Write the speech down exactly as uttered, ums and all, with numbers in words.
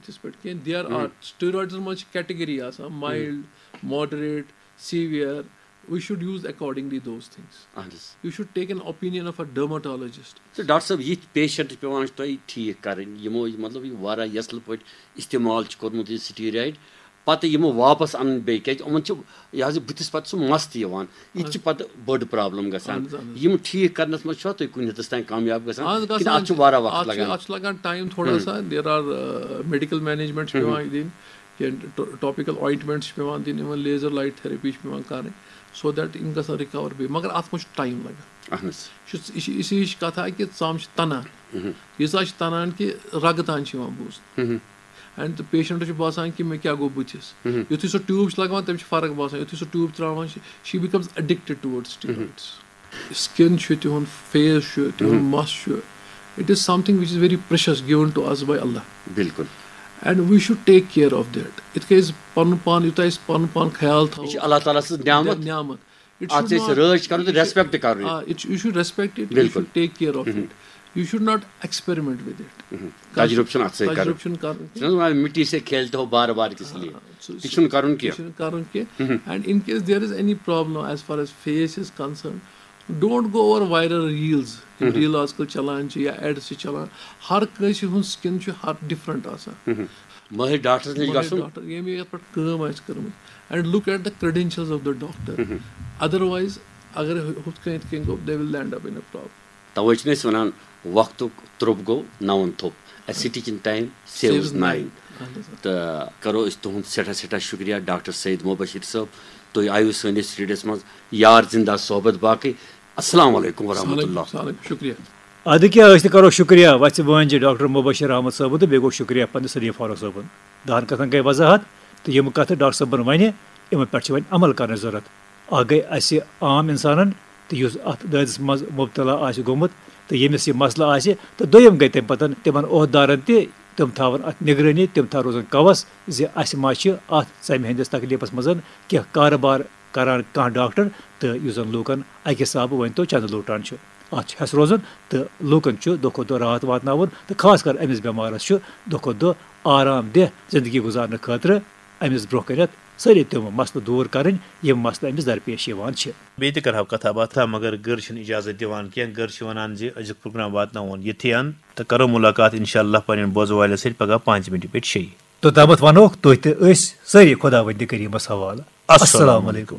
یِتھس پٲٹھۍ کینٛہہ there are steroids منٛز چھِ category آسان mild, moderate, severe. We should use accordingly those things. اہن حظ. You should take an opinion of a dermatologist. تہٕ ڈاکٹر صٲب، یِتھۍ پیشنٹ چھِ پٮ۪وان تۄہہِ ٹھیٖک کَرٕنۍ، یِمو مطلب یہِ واریاہ یَژلہٕ پٲٹھۍ استعمال چھِ کوٚرمُت یہِ سٹیٖرایڈ، پَتہٕ یِمو واپَس اَنٕنۍ بیٚیہِ، کیٛازِ یِمَن چھِ یہِ حظ یہِ بٕتھِس پَتہٕ سُہ مَس تہِ یِوان، یہِ تہِ چھِ پَتہٕ بٔڑ پرابلم گژھان. اہن حظ، اہن حظ. یِم ٹھیٖک کَرنَس منٛز چھُوا تُہۍ کُنہِ حدَس تام کامیاب گژھان اہن حظ، کِنہٕ گژھان اَتھ چھُ چھِ. واریاہ وقت اَتھ چھُ- لَگان؟ اَتھ چھُ لَگان ٹایم تھوڑا سا. There are medical management چھِ پٮ۪وان دِنۍ، کینٛہہ topical ointment چھِ پٮ۪وان دِنۍ، even laser light therapy چھِ پٮ۪وان کَرٕنۍ، so that یِم گژھن رِکَوَر بیٚیہِ، مگر اَتھ منٛز چھُ ٹایم لَگان. اہن حظ. یہِ چھُ یہِ چھِ یہِ چھِ یِہِش کَتھا کہِ ژَم چھِ تَنان، ییٖژاہ چھِ تَنان کہِ رَگہٕ تام چھِ یِوان بوزنہٕ. اینڈ پیشنٹس چھُ باسان کہِ مےٚ کیٛاہ گوٚو بٕتھِس. یُتھُے سُہ ٹیوٗب چھُ لَگاوان، تٔمِس چھِ فرق باسان. یُتھُے سُہ ٹیوٗب ترٛاوان چھِ، she becomes addicted towards steroids. Skin چھُ تِہُنٛد، face چھُ تِہُنٛد، مَس چھُ. It is something which is very precious, given to us by Allah. بِلکُل. And we should take care of that. یِتھ کٔنۍ أسۍ پَنُن پان، یوٗتاہ أسۍ پَنُن پان خیال تھاوو، یہِ چھِ اللہ تعالیٰ سٕنٛز نعمت. نعمت. It اَتھ should چھِ أسۍ not- رٲچھ کَرُن تہٕ یہِ چھُ- respect تہِ کَرُن یہِ. آ، it should- you should respect it, you بِلکُل. should take care of it. You should not experiment with it. تجربہٕ چھُنہٕ اَتھ سۭتۍ کَرُن. تجربہٕ چھُنہٕ کَرُن چھِ نہ حظ وَنان، مِٹی سے کھیلتے ہو بار بار کس لیے؟ سُہ- تہِ چھُنہٕ کَرُن کینٛہہ. چھُنہٕ کَرُن کینٛہہ. And in case there is any problem as far as face is concerned, don't go over viral reels. یِم ریٖل آز کل چلان چھِ یا ایڈ چھِ چلان، ہر کٲنٛسہِ ہُنٛد سکِن چھُ ہر ڈفرنٹ آسان. مٲہِر ڈاکٹرس نِش گژھُن. ڈاکٹر ییٚمہِ یَتھ پٮ۪ٹھ کٲم آسہِ کٔرمٕژ. And look at the credentials of the doctor. Otherwise اگر ہُتھ کٔنۍ یِتھ کٔنۍ گوٚو، they will end up in a problem. توے چھِ أسۍ وَنان، وقتُک ترٛوٚپ گوٚو نَوَن تھوٚپ. A stitch in time saves nine. اہن حظ. تہٕ کَرو أسۍ تُہُنٛد سٮ۪ٹھاہ سٮ۪ٹھاہ شُکریہ ڈاکٹر سید مبشر صٲب، تُہۍ آیِو سٲنِس سٹوڈیوَس منٛز یار زِندہ صحبت باقٕے. السلام علیکم ورحمۃ اللہ. السلام علیکم، شُکریہ. ادٕ کیٛاہ، أسۍ تہِ کرو شُکریہ وَژھِ وٲنجہِ ڈاکٹر مبشر احمد صٲبُن تہٕ بیٚیہِ گوٚو شُکریہ پننِس سدیٖم فاروق صٲبُن. دَہَن کَتھَن گٔے وضاحت، تہٕ یِم کَتھٕ ڈاکٹر صٲبَن وَنہِ، یِمَن پٮ۪ٹھ چھِ وۄنۍ عمل کَرنٕچ ضوٚرَتھ. اَکھ گٔے اَسہِ عام اِنسانَن تہٕ یُس اَتھ دٲدِس منٛز مُبتلا آسہِ گوٚمُت تہٕ ییٚمِس یہِ مسلہٕ آسہِ، تہٕ دوٚیِم گٔے تَمہِ پَتَن تِمَن عہدٕدارَن تہِ، تِم تھاوَن اَتھ نگرٲنی، تِم تھاوَن روزَن کَوَس زِ اَسہِ ما چھِ اَتھ ژَمہِ ہٕنٛدِس تکلیٖفَس منٛز کینٛہہ کارٕبار کَران کانٛہہ ڈاکٹر، تہٕ یُس زَن لوٗکَن اَکہِ حسابہٕ ؤنۍ تو چَندٕ لوٗٹان چھُ. اَتھ چھُ ہٮ۪س روزُن تہٕ لوٗکَن چھُ دۄہ کھۄتہٕ دۄہ راحت واتناوُن، تہٕ خاص کر أمِس بٮ۪مارَس چھُ دۄہ کھۄتہٕ دۄہ آرام دہ زندگی گُزارنہٕ خٲطرٕ أمِس برٛونٛہہ کَنٮ۪تھ سٲری تِم مسلہٕ دوٗر کَرٕنۍ، یِم مسلہٕ أمِس درپیش یِوان چھِ۔ بیٚیہِ تہِ کرہاو کتھا باتھا، مگر گٔر چھِنہٕ اجازت دِوان کینٛہہ۔ گٔر چھِ ونان زِ أزیُک پروگرام واتناوون یِتھٕے ان، تہٕ کرو ملاقات انشاءاللہ پننٮ۪ن بوزن والٮ۪ن سۭتۍ پگاہ پانٛژِ مِنٹہِ پٮ۪ٹھ شیٚیہِ۔ توٚتامَتھ ونوکھ تُہۍ تہٕ أسۍ سٲری خۄداوندِ کریٖمس حوالہٕ۔ السلام علیکم۔